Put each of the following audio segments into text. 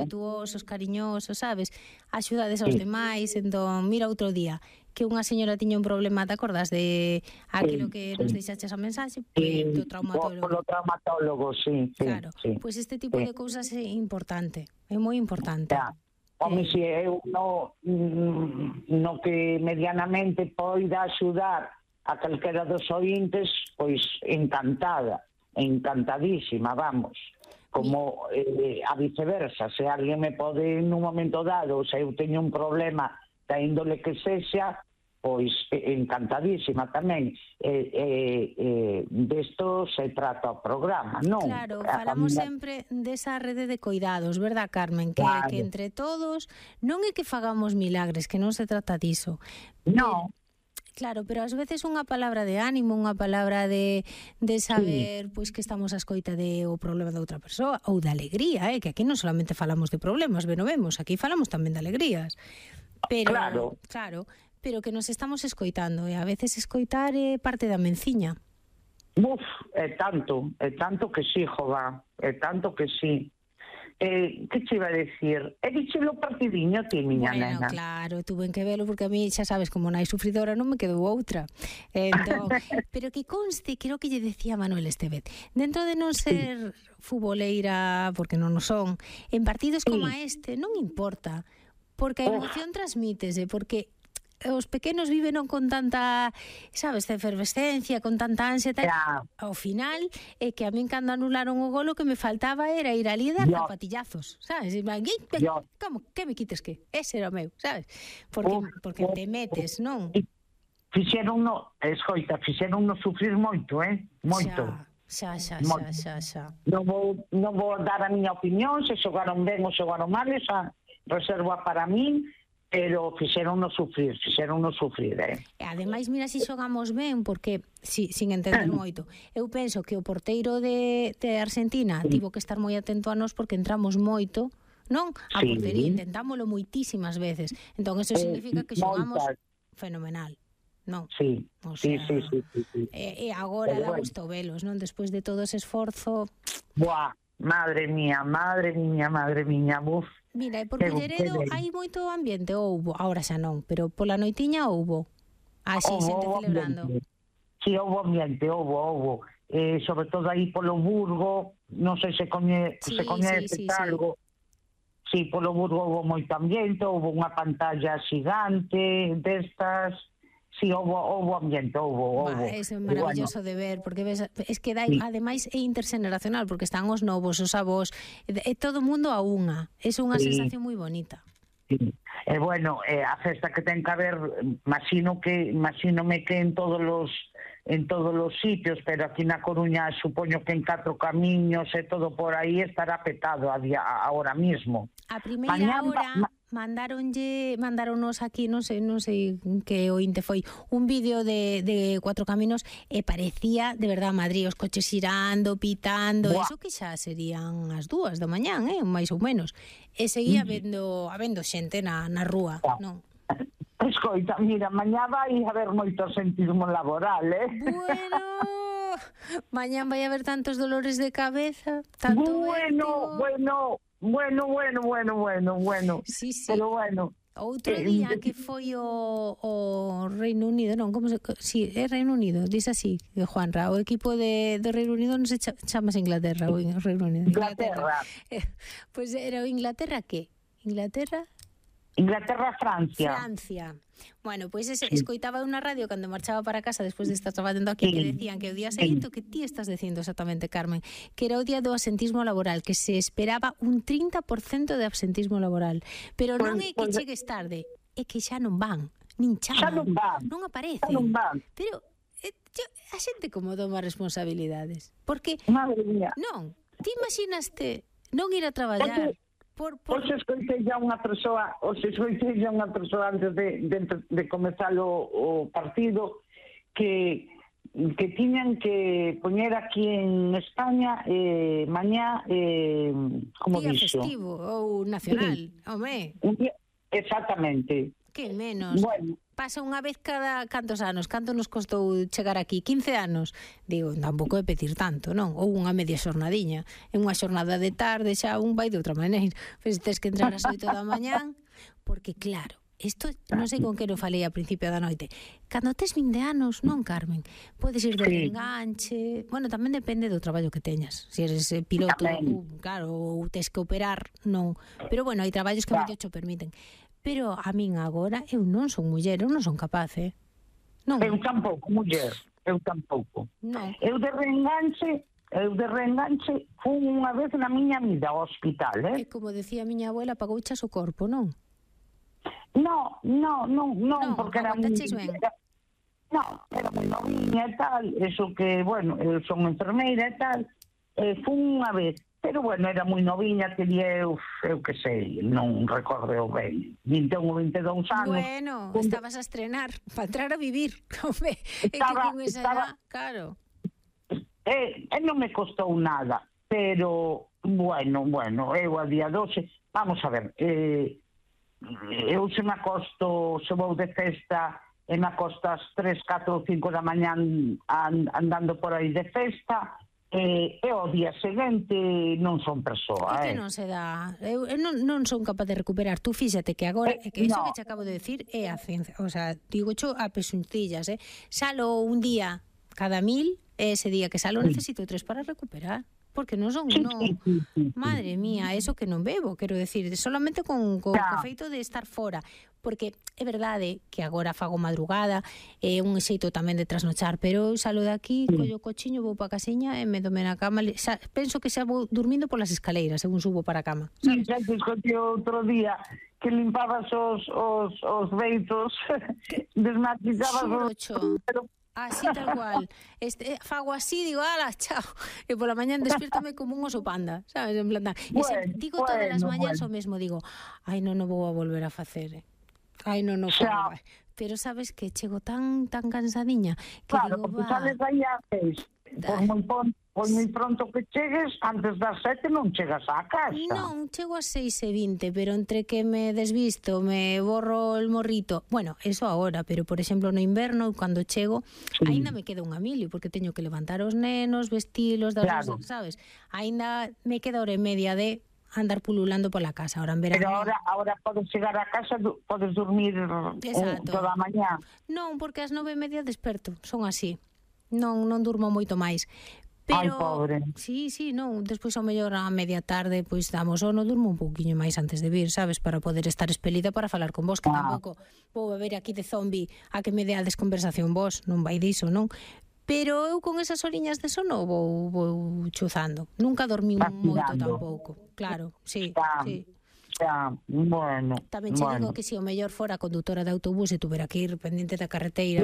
respetuosos, cariñosos, sabes? Axudades aos demais, entón, mira outro día que unha señora tiña un problema, te acordas de aquilo que nos deixaches a mensaxe? Do traumatólogo. Polo traumatólogo, sí. Claro, pois este tipo de cousas é importante, é moi importante. Home, se eu no que medianamente poida axudar a calquera dos ointes, pois encantadísima, vamos. Como a viceversa, se alguén me pode nun momento dado, se eu teño un problema da índole que sexa, pois encantadísima tamén. Desto se trata o programa, non? Claro, falamos sempre desa rede de coidados, verdad, Carmen? Que entre todos, non é que fagamos milagres, que non se trata diso. Non. Claro, pero ás veces unha palabra de ánimo, unha palabra de saber pois que estamos a escoita o problema da outra persoa, ou de alegría, que aquí non solamente falamos de problemas, vemos, aquí falamos tamén de alegrías. Pero, claro, pero que nos estamos escoitando, e a veces escoitar é parte da menciña. É tanto que sí, jova, é tanto que sí. Que te iba a decir? He dicho lo partidiño ti, miña nena. Bueno, claro, tuve que verlo porque a mí, xa sabes, como nai sufridora non me quedou outra. Entón, pero que conste, creo que lle decía Manuel Estevez, dentro de non ser futboleira, porque non o son, en partidos como este non importa, porque a emoción transmítese, porque os pequenos viven con tanta, sabes, efervescencia, con tanta ansia, tal. Ao final, é que a min cando anularon o golo, que me faltaba era ir ali e dar zapatillazos, sabes? Como, que me quites que? Ese era o meu, sabes? Porque te metes, non? Fixeronno sufrir moito, moito. Xa. Non vou dar a miña opinión, se xogaron ben ou xogaron mal, esa reserva para min, pero fixeronnos sufrir, Ademais, mira se xogamos ben, porque, sin entender moito, eu penso que o porteiro de Argentina tivo que estar moi atento a nós porque entramos moito, non? A portería, intentámoslo moitísimas veces. Entón, eso significa que xogamos fenomenal, non? Sí. E agora dá gusto velos, non? Despois de todo ese esforzo... Buah, madre miña, buf. Mira, e por Culleredo hai moito ambiente, houbo, agora xa non, pero pola noitiña houbo. Así, xente celebrando. Si, houbo ambiente, houbo. Sobre todo aí polo Burgo, non sei se coñece algo. Si, polo Burgo houbo moito ambiente, houbo unha pantalla xigante destas. Si, houbo ambiente, houbo. Eso é maravilloso de ver, porque ves, es que ademais é interxeneracional, porque están os novos, os avós, é todo o mundo a unha. É unha sensación moi bonita. E bueno, a festa que ten que haber, imagínome que en todos os sitios, pero aquí na Coruña supoño que en 4 camiños e todo por aí estará petado ahora mismo. A primeira hora mandaronnos aquí, non sei que ointe foi, un vídeo de 4 caminos e parecía de verdad Madrid, os coches xirando, pitando, eso que xa serían as 2 da mañán, máis ou menos. E seguía habendo xente na rúa, non? Escoita, mira, mañá vai haber moito absentismo laboral, Bueno, mañán vai haber tantos dolores de cabeza, Bueno. Sí. Pero bueno. Outro día que foi o Reino Unido, non, como se... Si, é Reino Unido, dice así, Juanra, o equipo do Reino Unido non se chamas Inglaterra, o Reino Unido. Inglaterra. Pois era o Inglaterra que? Francia. Bueno, pois escoitaba unha radio cando marchaba para casa despois de estar traballando aquí que decían que o día seguinte, que ti estás dicindo exactamente, Carmen, que era o día do absentismo laboral, que se esperaba un 30% de absentismo laboral, pero non é que chegues tarde, é que xa non van, nin chaman, non aparecen. Pero a xente como toma responsabilidades, porque madre mía, non, ti imaginaste non ir a traballar. Os escoitei a unha persoa antes de comezar o partido que tiñan que poñer aquí en España mañá como día dixo? Festivo ou nacional, home. Exactamente. Que menos. Bueno, pasa unha vez cada cantos anos. Canto nos costou chegar aquí? 15 anos. Digo, tampouco é pedir tanto, non? Ou unha media xornadiña. En unha xornada de tarde xa un vai de outra maneira. Pois tes que entrar ás 8 da mañán, porque claro, isto non sei con que non falei a principio da noite. Cando tes 20 anos, non, Carmen? Podes ir de reenganche. Bueno, tamén depende do traballo que teñas. Se eres piloto, claro, ou tes que operar, non. Pero bueno, hai traballos que medio cho permiten. Pero a min agora, eu non son muller, eu non son capaz, Non. Eu tampouco, muller, eu tampouco. Non. Eu de reenganche fui unha vez na miña vida ao hospital, E como decía a miña abuela, pagouchas o corpo, non? No, porque era moi... No, era moi noviña e tal, eso que, bueno, eu son enfermeira e tal, fui unha vez. Pero, bueno, era moi noviña, teria eu que sei, non recordo ben, 21 ou 22 anos. Bueno, estabas a estrenar, para entrar a vivir. Home, estaba, que con esa edad, claro. Non me costou nada, pero, bueno, eu a día 12, vamos a ver, eu se me acosto, se vou de festa, e me acosto ás 3, 4 ou 5 da mañán andando por aí de festa, e o día seguinte non son persoa. Que non se dá. Eu non son capaz de recuperar. Tú fíxate que agora, que iso que te acabo de decir é a ciencia. O sea, digo cho a pesuncillas, Salo un día cada 1000, e ese día que salo necesito 3 para recuperar. Porque non son, non... Madre mía, eso que non bebo, quero decir, solamente con o feito de estar fora. Porque é verdade que agora fago madrugada, é un xeito tamén de trasnochar, pero eu salo de aquí, collo o cochiño, vou pa casiña e me dome na cama, penso que xa vou dormindo polas escaleiras, según subo para a cama. Sí, xa te escoitei outro día que limpabas os beitos, desmatizabas os... Así tal cual. Fago así, digo, ala, chao. E pola mañán despiértome como un oso panda, sabes, en plan. Digo todas as mañás o mesmo, digo, ai, non vou a volver a facer. Ai, non fago. Pero sabes que chego tan cansadiña que claro, digo, porque sales aí a 6. Por moi pronto que chegues, antes das 7 non chegas á casa. Non, chego a 6:20, pero entre que me desvisto, me borro el morrito. Bueno, eso agora, pero por exemplo no inverno, cando chego, aínda me queda unha mili, porque teño que levantar os nenos, vestilos, sabes? Aínda me queda hora e media de andar pululando pola casa, ahora en verano. Pero ahora podes chegar a casa, podes dormir toda a mañá. Non, porque ás 9:30 desperto, son así. Non durmo moito máis. Pero, ai, pobre. Sí, non, despois ao mellor a media tarde, pois damos sono, durmo un pouquiño máis antes de vir, sabes, para poder estar espelida para falar con vos, que tampouco vou beber aquí de zombi a que me deades conversación vos, non vai diso, non? Pero eu con esas horiñas de sono vou chuzando. Nunca dormí moito tampouco. Claro, sí. Xa, bueno. Tamén che digo que se o mellor fora condutora de autobús e tuvera que ir pendiente da carreteira.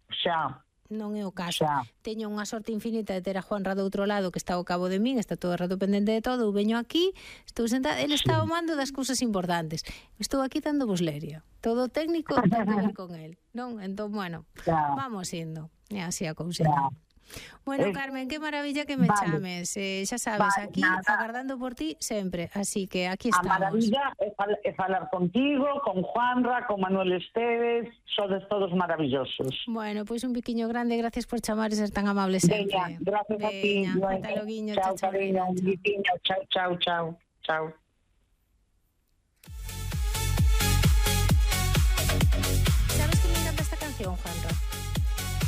Xa. Non é o caso. Teño unha sorte infinita de ter a Juanra do outro lado, que está ao cabo de min, está todo o rato pendente de todo, eu veño aquí, estou sentada, ele está ao mando das cousas importantes. Estou aquí dando vos leria. Todo técnico ten que ver con el, non? Entón, bueno, vamos indo. É así a cousa. Bueno, Carmen, qué maravilla que me chames. Xa sabes, aquí agardando por ti sempre. Así que aquí estamos. A maravilla é falar contigo, con Juanra, con Manuel Esteves, sodes todos maravillosos. Bueno, pois un biquiño grande, gracias por chamar e ser tan amable sempre. Veña, gracias a ti. Hasta loguiño, chao, cariño, un biquiño, chao. Sabes que me encanta esta canción, Juanra?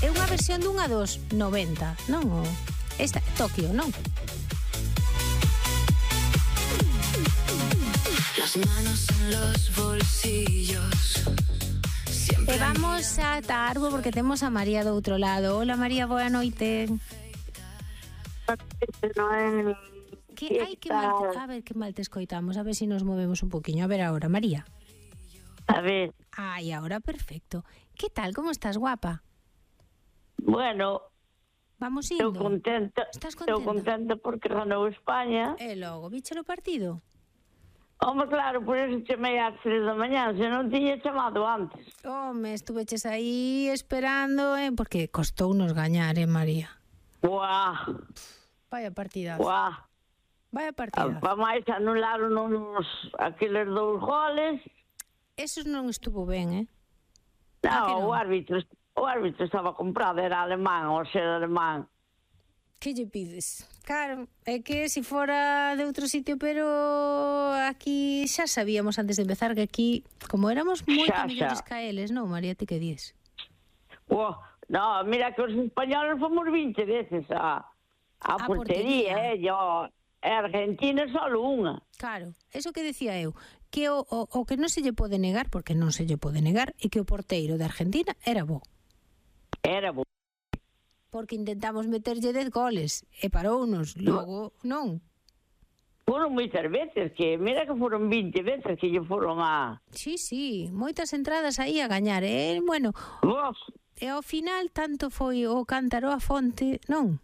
É unha versión dunha dos 90, non? Esta, Tokio, non? Las manos en los bolsillos. E vamos a Tarbo porque temos a María do outro lado. Hola, María, boa noite. Que mal, a ver, que mal te escoitamos. A ver si nos movemos un poquinho. A ver ahora, María. A ver. Ai, ahora perfecto. Que tal, como estás, guapa? Bueno, vamos indo. Estou contenta. Estás contenta? Estou contenta porque ganou España. E logo, viche o partido? Home, claro, por eso chamei ás 3 da mañá, se non tiña chamado antes. Home, estuveches aí esperando, porque costounos gañar, María? Buah. Vaya partidazo. Buah. Vaya partidazo. Para máis anularon aqueles 2 goles. Esos non estuvo ben, Non, o árbitro estaba comprado, era alemán, ou ser alemán. Que lle pides? Claro, é que se fora de outro sitio, pero aquí xa sabíamos antes de empezar que aquí, como éramos moito millores que eles, non, María, ti que dies? No, mira que os españoles fomos 20 veces a portería, e Argentina solo unha. Claro, eso que decía eu, que o que non se lle pode negar, porque non se lle pode negar, é que o porteiro de Argentina era bo. Era bo. Porque intentamos meterlle 10 goles e parounos, logo non. Foron moitas veces, que mira que foron 20 veces que lle foron a... Sí, moitas entradas aí a gañar, bueno. E ao final tanto foi o cántaro a fonte, non?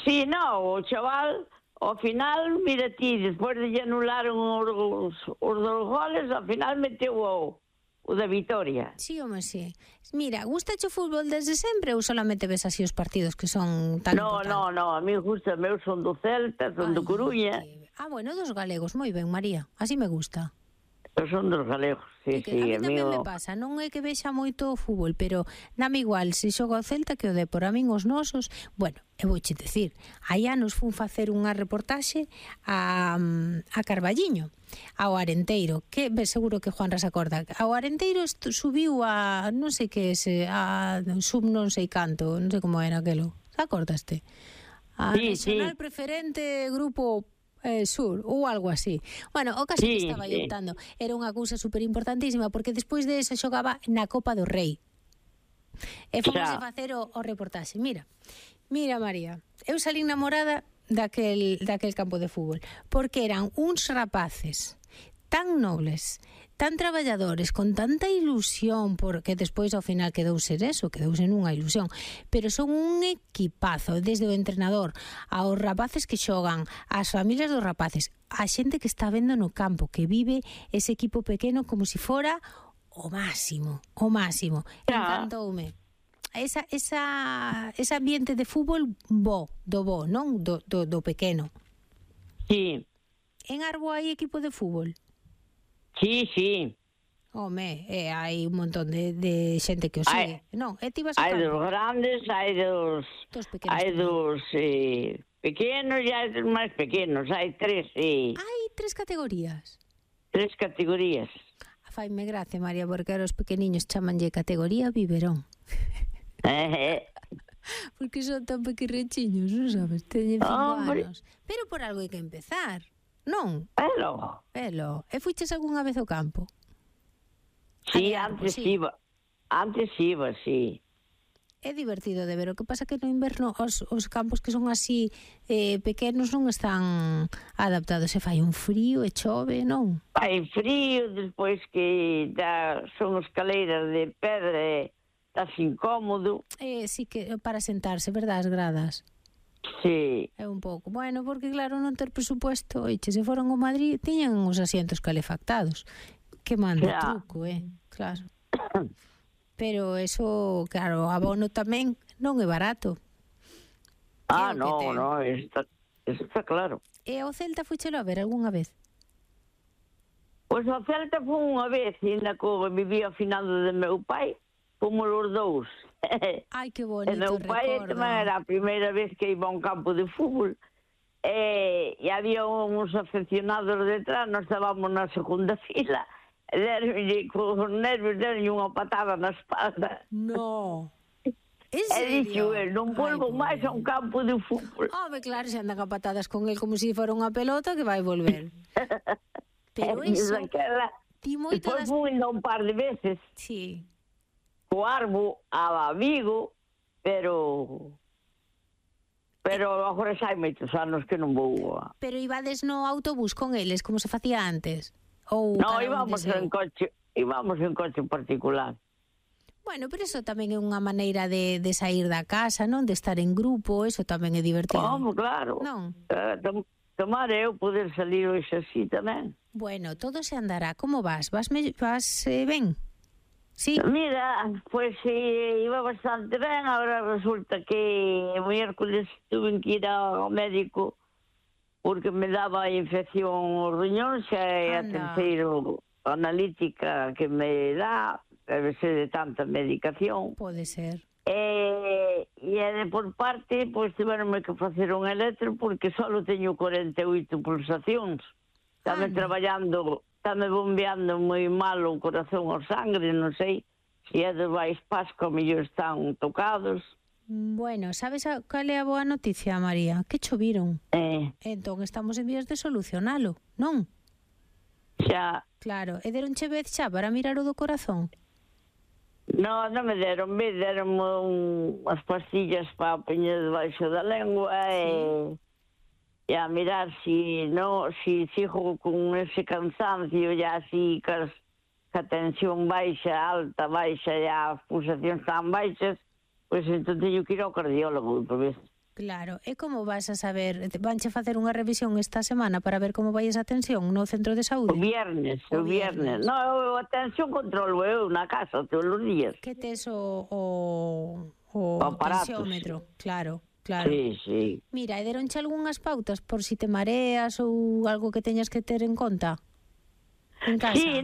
Sí, non, o chaval, ao final, mira ti, despois de lle anularon os 2 goles, ao final meteu o da Vitoria. Sí, home, sí. Mira, gustache o fútbol desde sempre ou solamente ves así os partidos que son tan importantes? No, a mí gusta, meu son do Celta, son do Coruña. Bueno, dos galegos, moi ben, María, así me gusta. Eu son dos galegos, sí, a mí tamén me pasa, non é que vexa moito o fútbol, pero dame igual se xoga o Celta que o Depor, a min os nosos. Bueno, eu vouche dicir, hai anos fun facer unha reportaxe a Carballiño, ao Arenteiro, que seguro que Juanra se acorda. Ao Arenteiro subiu a non sei que a sub non sei canto, non sei como era aquelo. Se acordaste? A regional preferente grupo sur, ou algo así. Bueno, o caso que estaba optando era unha cousa super importantísima, porque despois de eso xogaba na Copa do Rei. E fomos a facer o reportaxe. Mira, María, eu salí namorada daquel campo de fútbol, porque eran uns rapaces tan nobles, tan traballadores, con tanta ilusión, porque despois ao final quedouse nunha ilusión, pero son un equipazo, desde o entrenador aos rapaces que xogan, ás familias dos rapaces, a xente que está vendo no campo, que vive ese equipo pequeno como se fora o máximo. Encantoume. Ese ambiente de fútbol non? Do pequeno. Sí. En Arbo hai equipo de fútbol? Sí. Home, hai un montón de xente que o sigue. Non, ti vas ao campo. Hai dos grandes, hai dos pequenos e hai dos máis pequenos. Hai 3, sí. Hai 3 categorías? 3 categorías. Faime gracia, María, porque os pequeniños chamanlle categoría biberón. Porque son tan pequerrechiños, non sabes? Teñen 5 anos. Pero por algo hai que empezar. Non? Velo. E fuiches algunha vez ao campo? Sí, antes iba, sí. É divertido de ver. O que pasa que no inverno os campos que son así pequenos non están adaptados. Se fai un frío e chove, non? Fai frío, despois que son escaleiras de pedra e estás incómodo. Sí, que para sentarse, verdad, as gradas? Sí. É un pouco. Bueno, porque claro, non ter presupuesto, se foron ao Madrid, tiñan os asientos calefactados. Que manda truco, claro. Pero eso, claro, abono tamén non é barato. No, está claro. E ao Celta fuchelo a ver algunha vez? Pois ao Celta foi unha vez, ainda que vivía afinado de meu pai, fomos os 2. Ai, que bonito recordo. Meu pai tamén era a primeira vez que iba a un campo de fútbol e había uns afeccionados detrás, nós estábamos na segunda fila, con os nervios deron unha patada na espalda. No. E dixo, non volvo máis a un campo de fútbol. Claro, se andan a patadas con el como se fora unha pelota que vai volver. Pero iso, ti moito das... Depois fui un par de veces. Sí. O Arbo a Vigo, pero agora xa hai moitos anos que non vou. Pero ibades no autobús con eles, como se facía antes? No, íbamos en coche particular. Bueno, pero eso tamén é unha maneira de sair da casa, non? De estar en grupo, eso tamén é divertido. Claro. Non? Tomar eu poder salir hoxe así tamén. Bueno, todo se andará. Como vas? Vas ben? Sí. Mira, pues iba bastante ben. Ahora resulta que o miércoles tuve que ir ao médico porque me daba infección os riñóns e a terceira analítica que me dá debe ser de tanta medicación. Pode ser. E de por parte, pois tiveronme que facer un electro porque só teño 48 pulsacións. Estame traballando, estame bombeando moi mal o corazón o sangre, non sei se é de Baixpasco, mellor están tocados. Bueno, sabes cal é a boa noticia, María? Que choviron. Entón estamos en vías de solucionalo, non? Xa. Claro, e deronche vez xa para mirar o do corazón? Non me deron unhas pastillas para poñer debaixo da lengua e a mirar si sigo con ese cansancio e así que a tensión baixa, alta, baixa e as pulsacións tan baixas, pois entón teño que ir ao cardiólogo por vez. Claro, e como vas a saber? Vanche facer unha revisión esta semana para ver como vai esa tensión no centro de saúde? O viernes. No, a tensión controlo eu na casa todos os días. Que tes o tensiómetro, claro. Sí. Mira, e deronche algunhas pautas por si te mareas ou algo que teñas que ter en conta en casa? Sí,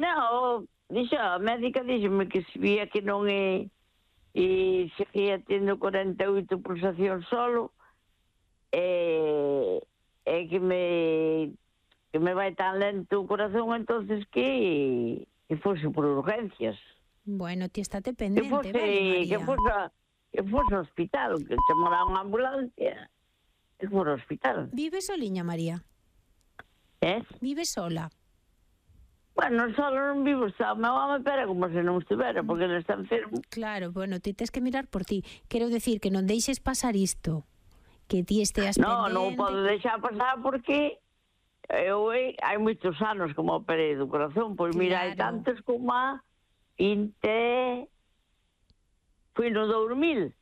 a médica díxeme que se vía que non é e seguía tendo 48 pulsacións solo e que me vai tan lento o corazón, entonces que fose por urgencias. Bueno, ti estate pendente, vale, María? Que fose ao hospital, que chamara unha ambulancia, que fose ao hospital. Vives soliña, María? Vives sola? Bueno, solo non vivo, está o meu home, pero como se non estivera, porque ele está enfermo. Claro, bueno, ti tes que mirar por ti. Quero decir que non deixes pasar isto, que ti esteas pendente. Non podo deixar pasar porque hai moitos anos como operei do corazón, pois mira, hai tantos como a 20... Fui no 2000.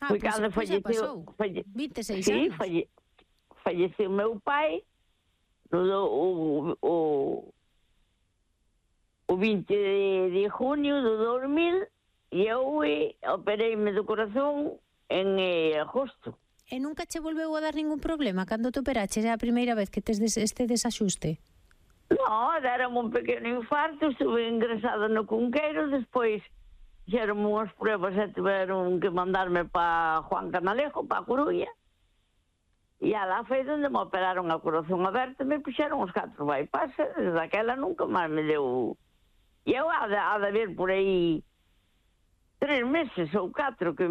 Foi cando falleceu. 26 anos. Sí, falleceu meu pai o 20 de junio do 2000 e eu opereime do corazón en agosto. E nunca che volveu a dar ningún problema cando te operaches? É a primeira vez que tes este desaxuste? Non, deram un pequeno infarto, estuve ingresada no Cunqueiro, despois fixeron unhas pruebas e tiveron que mandarme para Juan Canalejo, para a Coruña. E alá foi onde me operaron a corazón aberto e me puxeron os 4 bypass. Desde aquela nunca máis me deu. E eu há de haber por aí 3 meses ou 4 que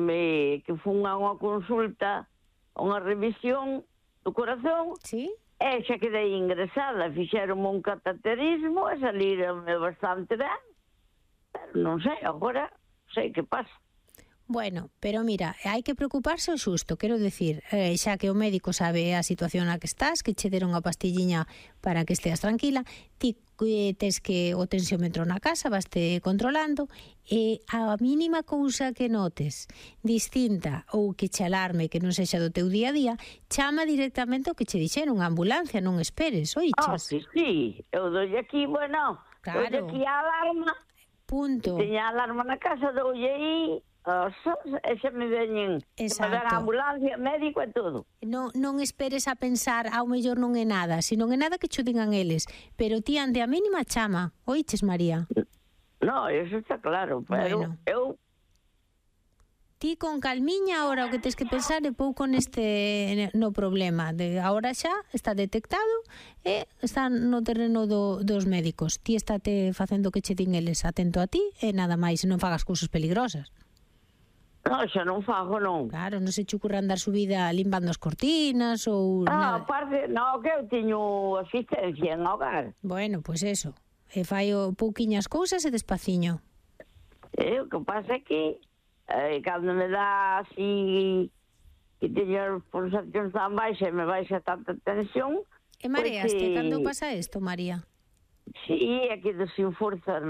fun a unha consulta, a unha revisión do corazón. Sí? E xa quedei ingresada, fixeron un cateterismo e salironme bastante ben. Pero non sei, agora sei que pasa. Bueno, pero mira, hai que preocuparse o xusto, quero decir, xa que o médico sabe a situación na que estás, que che deron a pastilliña para que esteas tranquila, ti tes que o tensiómetro na casa, vaste controlando, e a mínima cousa que notes distinta ou que che alarme que non sexa do teu día a día, chama directamente o que che dixeron, a ambulancia, non esperes, oiches? Sí, eu doi aquí, bueno, claro. Doi aquí a alarma, punto. Teña a alarma na casa, doi aí, e xa me veñen a ambulancia, médico e todo. Non esperes a pensar ao mellor non é nada, se non é nada que cho digan eles, pero ti ante a mínima chama, oiches, María? No, eso está claro, pero bueno, eu ti con calmiña agora o que tens que pensar é pouco no problema de agora xa está detectado e está no terreno dos médicos. Ti estate facendo o que che din eles, atento a ti e nada máis, non fagas cousas peligrosas. Non, xa non fago, non. Claro, non se che ocurra andar subida limpando as cortinas ou nada. Aparte, non, que eu teño asistencia en hogar. Bueno, pois eso. E fai pouquiñas cousas e despaciño. O que pasa é que cando me dá así que teño as pulsacións tan baixas e me baixa tanta tensión. E mareaste cando pasa isto, María? Sí, é que sin forza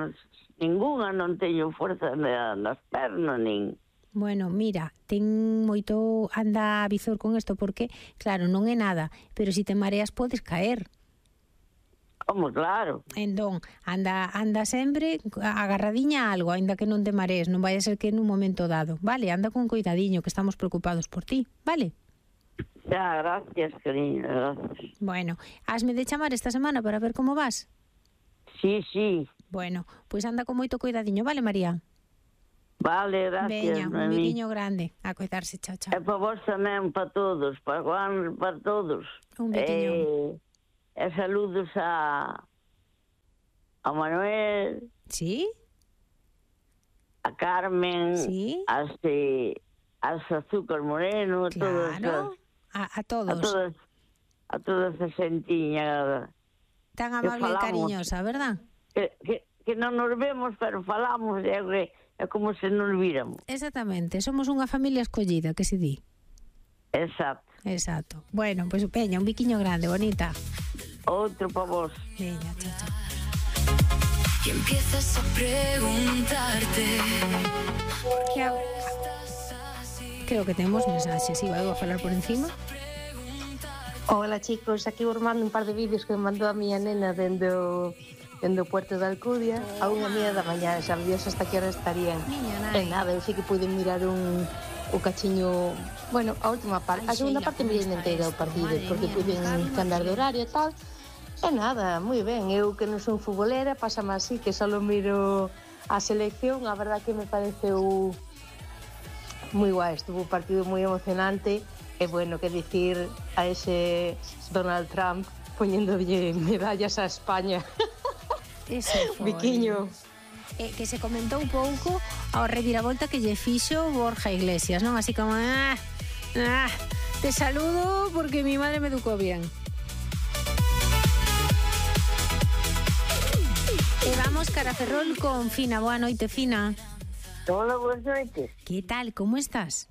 ninguna, non teño forza nas pernas, nin... Bueno, mira, ten moito anda a visor con isto porque, claro, non é nada, pero se te mareas podes caer. Como, claro. Entón, anda sempre agarradiña a algo, aínda que non te marees, non vai a ser que nun momento dado, vale? Anda con cuidadiño, que estamos preocupados por ti, vale? Xa, gracias, cariño, gracias. Bueno, hasme de chamar esta semana para ver como vas. Sí, Bueno, pois anda con moito cuidadiño, vale, María? Vale, gracias. Veña, un biquiño grande. A cuidarse, chao, chao. E para vos tamén, para todos, para Juan, para todos. Un biquiño. E saludos a Manuel, Sí? a Carmen, Sí. as Azúcar Moreno, a Claro, a todos. a toda esa xentiña Tan amable e cariñosa, verdad? que non nos vemos, pero falamos, é como se nos víramos. Exactamente, somos unha familia escollida, que se di. Exacto. Bueno, pois veña, un biquiño grande, bonita. Outro para vos. Veña, chao, chao. Y empiezas a preguntarte Creo que temos mensajes, iba a falar por encima. Hola chicos, aquí vos mando un par de vídeos que me mandou a miña nena dendo Puerto de Alcudia a 1:30 da mañá, xa Dios hasta que hora estarían. En nada, eu sí que pude mirar un cachiño, bueno, a última parte, a segunda parte mirei inteira o partido, porque pude cambiar de horario e tal. E nada, moi ben, eu que non son futbolera, pásame así, que só miro a selección, a verdad que me pareceu moi guai, estuvo un partido moi emocionante. E bueno, que dicir a ese Donald Trump poñéndolle medallas a España. Ese foi. Biquiño. Que se comentou un pouco ao reviravolta que lle fixo Borja Iglesias, non? Así como, te saludo porque mi madre me educó bien. E vamos cara a Ferrol con Fina. Boa noite, Fina. Hola, boas noites. Que tal, como estás?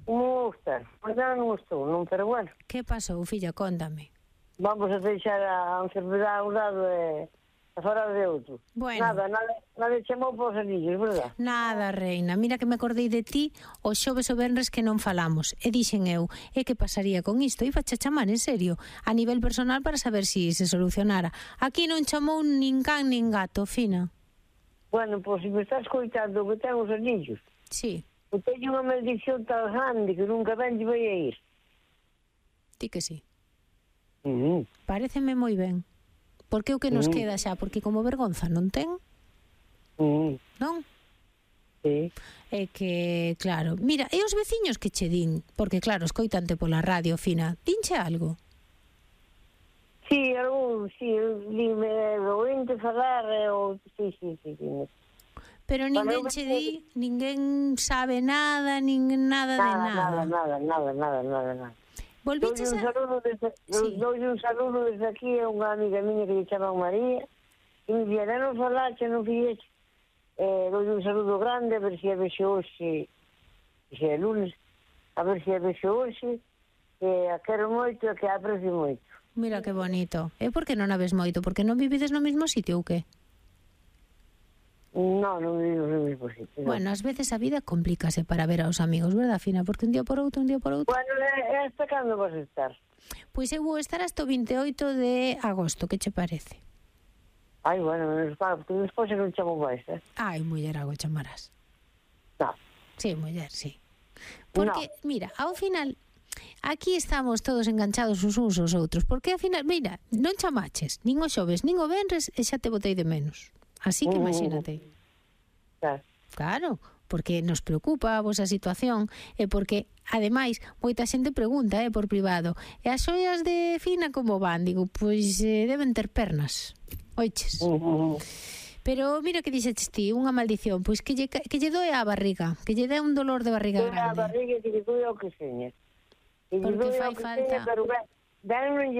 Como estás? Pois non estou, non, pero bueno. Que pasou, filla? Cóntame. Vamos a deixar a enfermedade a un lado e a fora de outro. Bueno. Nada chamou para os anillos, verdad? Nada, reina. Mira que me acordei de ti o xoves o venres que non falamos. E dixen eu, que pasaría con isto? Iba a chamar, en serio, a nivel personal para saber si se solucionara. Aquí non chamou nin can nin gato, Fina. Bueno, pois se me estás coitando que ten os anillos. Sí. Eu teño unha maldición tan grande que nunca ben lle vai a ir. Ti que sí. Paréceme moi ben. Porque o que nos queda xa, porque como vergonza non ten, non? Sí. É que, claro, mira, e os veciños que che din, porque claro, escoitante pola radio, Fina, dinche algo? Sí, dime, ointe falar, sí. Pero ninguén che di, ninguén sabe nada, nada de nada. Nada. Volviches a... Doulle un saludo desde aquí a unha amiga miña que lle chama María, e me dixera, non falache, non fixeche. Doulle un saludo grande, a ver se a vexo hoxe, se é lunes, a ver se a vexo hoxe, que a quero moito e que a aprecio moito. Mira que bonito. E por que non a ves moito? Porque non vivides no mesmo sitio ou que? Non vivimos no mesmo sitio. Bueno, ás veces a vida complícase para ver aos amigos, verdad, Fina? Porque un día por outro. Bueno, hasta cando vas a estar? Pois eu vou estar hasta o 28 de agosto, que che parece? Ai, bueno, porque despois non chamo máis, Ai, muller, algo chamarás. Non. Sí, muller, sí. Porque, mira, ao final, aquí estamos todos enganchados uns aos outros, porque ao final, mira, non chamaches, nin o xoves, nin o venres, e xa te botei de menos. Así que imagínate. Claro, porque nos preocupa a vosa situación e porque, ademais, moita xente pregunta por privado, e as xoias de Fina como van? Digo, pois deben ter pernas, oiches. Pero mira que dixeches ti, unha maldición, pois que lle doe a barriga, que lle dé un dolor de barriga grande. A barriga que lle doe ao que seña. Porque fai falta... Pero ben non lle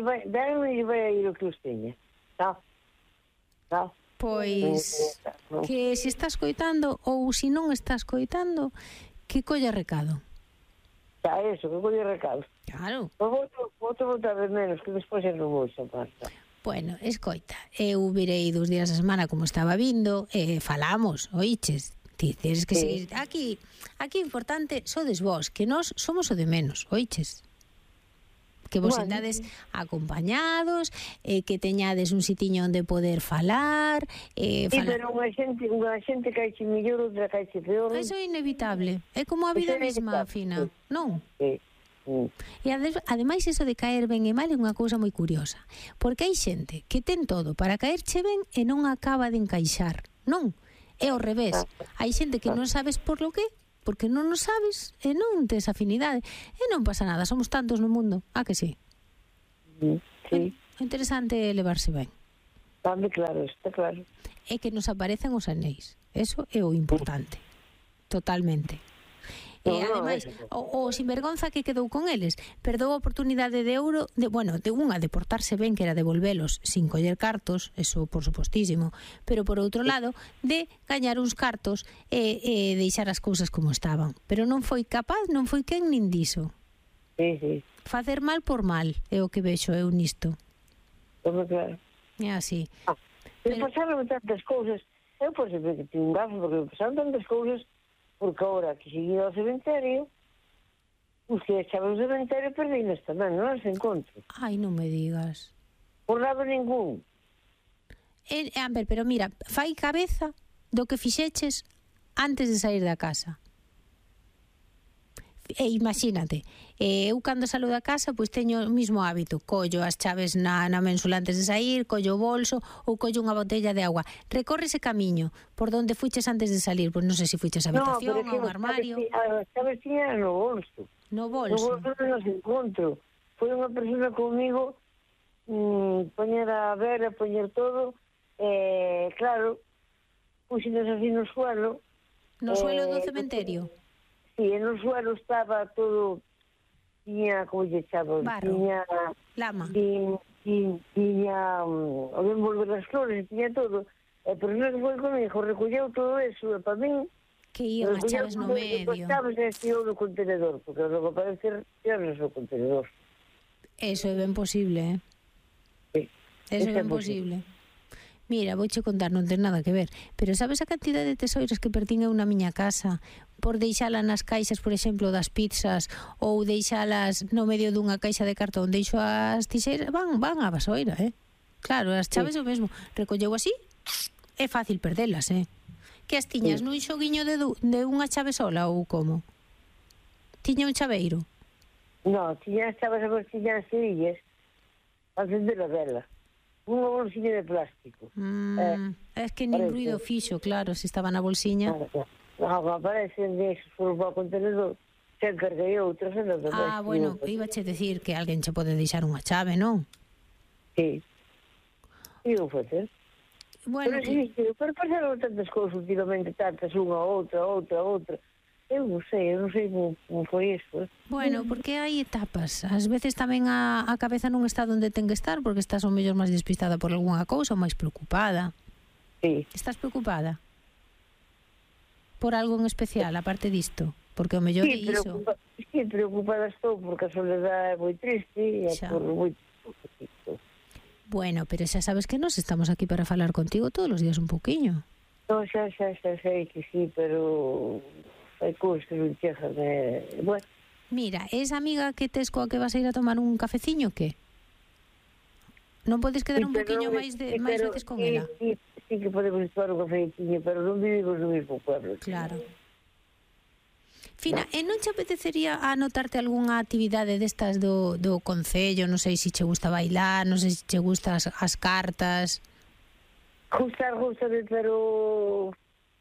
vai a ir o que os teña. Tá? Pois que se estás coitando ou se non estás coitando, que colla recado. Xa, eso, que colla recado. Claro. Vou te botar de menos, que despois non vou chamar. Bueno, escoita, eu virei 2 días a semana como estaba vindo, falamos, oiches, ti tens que seguir aquí importante, sodes vos, que nós somos o de menos, oiches. Que vos andades acompañados, que teñades un sitiño onde poder falar. Sí, pero unha xente caixe mellor, outra caixe peor. Eso é inevitable. É como a vida mesma, Fina, non? Sí. E ademais iso de caer ben e mal é unha cousa moi curiosa, porque hai xente que ten todo para caerche ben e non acaba de encaixar, non? É ao revés, hai xente que non sabes por lo que, porque non o sabes e non tes afinidade, e non pasa nada, somos tantos no mundo, que sí? Sí. O interesante é levarse ben. Claro, está claro. É que nos aparecen os anéis, eso é o importante, totalmente. E ademais, o sinvergonza que quedou con eles perdou a oportunidade de ouro de unha de portarse ben, que era devolvelos sin coller cartos, eso por supostísimo, pero por outro lado de gañar uns cartos e deixar as cousas como estaban, pero non foi capaz, non foi quen nin diso. Sí. Facer mal por mal é o que vexo eu nisto. Claro. É así. Pero pasaron tantas cousas, eu por sempre que tinha un gafo, porque pasaron tantas cousas. Porque ahora que seguí ao cementerio, os que echaban o cementerio perdinos tamén, non os encontro. Ai, non me digas. Por lado ningún. Amber, pero mira, fai cabeza do que fixeches antes de sair da casa. E imagínate, eu cando salgo da casa pois teño o mesmo hábito, collo as chaves na mensula antes de sair, collo o bolso ou collo unha botella de agua, recorre ese camiño por donde fuiches antes de salir, pois non sei se fuiches a habitación ou un armario. As chaves tiña no bolso. No bolso non os encontro. Foi unha persona comigo poñer a vela, poñer todo, claro, puxenos así no suelo. No suelo do cementerio? Sí, en o suelo estaba todo, tiña, como lle chamo, tiña lama, tiña o de envolver as flores, tiña todo, pero non foi comigo, recolleu todo eso, e para min que iban as chaves no medio, as chaves estiu no contenedor, porque logo parece que era no contenedor. Eso é ben posible, Sí, eso é ben posible. Mira, vouche contar, non ten nada que ver, pero sabes a cantidad de tesouros que pertín eu na miña casa por deixala nas caixas, por exemplo, das pizzas, ou deixalas no medio dunha caixa de cartón, deixo as tixeiras, van á basoira, Claro, as chaves o mesmo, recolleu así, é fácil perdelas, Que as tiñas nun xoguiño de unha chave sola ou como? Tiña un chaveiro? Non, tiña as chaves a bolsiña as cerillas, a encender a vela. Unha bolsiña de plástico. É que nin ruido fixo, claro, se estaba na bolsiña. Claro, aparecen deses foron para o contenedor, se encarguei outros. Bueno, íbache decir que alguén che pode deixar unha chave, non? Sí. E eu facer. Bueno, pero pasaron tantas cousas últimamente, tantas, unha, outra. Eu non sei como foi isto. Bueno, porque hai etapas. Ás veces tamén a cabeza non está onde ten que estar, porque estás ao mellor máis despistada por algunha cousa ou máis preocupada. Sí. Estás preocupada? Por algo en especial, aparte disto? Porque ao mellor é iso. Sí, preocupada estou, porque a soledade é moi triste e por moi... Bueno, pero xa sabes que nos estamos aquí para falar contigo todos os días un poquinho. Non, xa sei que sí, pero... hai cousas que non chegan, bueno. Mira, esa amiga que tes coa que vas a ir a tomar un cafeciño, que? Non podes quedar un poquinho máis veces con ela? Sí que podemos tomar un cafeciño, pero non vivimos no mesmo pueblo. Claro. Fina, e non che apetecería anotarte algunha actividade destas do concello? Non sei se che gusta bailar, non sei se che gustan as cartas. Gústame, pero...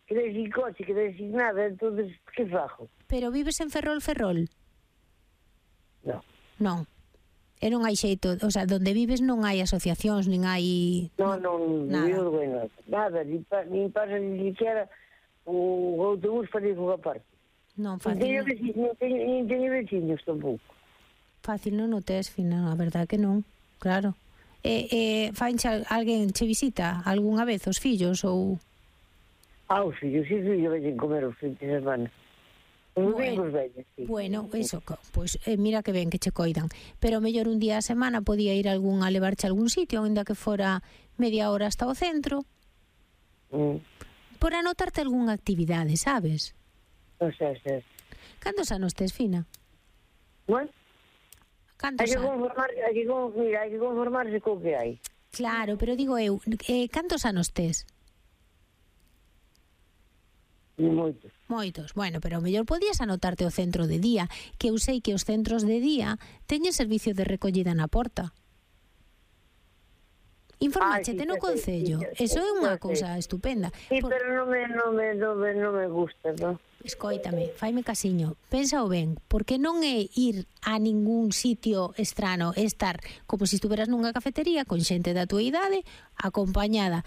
quedei sin coche, quedei sin nada, entonces, que fajo? Pero vives en Ferrol? Non. E non hai xeito, o sea, donde vives non hai asociacións, nin hai... Non, vivo bueno, nada, nin pasa ni siquiera o autobús para ir a parte. Non, fácil. Nin teño veciños tampouco. Fácil non o tes, Fina, a verdade que non, claro. Fainche alguén che visita algunha vez os fillos ou... Os fillos, sí, yo veñen comer os fins de semana. Os domingos veñen, sí. Bueno, eso, pois mira que ben que che coidan. Pero mellor un día a semana podía ir a levarche a algún sitio, ainda que fora media hora hasta o centro. Por anotarte algunha actividade, sabes? Non sei. Cantos anos tes, Fina? Bueno, Cantos anos? Hai que conformarse co que hai. Claro, pero digo eu, cantos anos tes? Moitos. Moitos. Bueno, pero mellor podías anotarte o centro de día, que eu sei que os centros de día teñen servicio de recollida na porta. Informáchete no concello. Eso é unha cousa estupenda. Sí, pero non me gusta, non? Escoítame, faime casiño, pénsao ben, porque non é ir a ningún sitio estrano, é estar como se estuveras nunha cafetería con xente da túa idade, acompañada.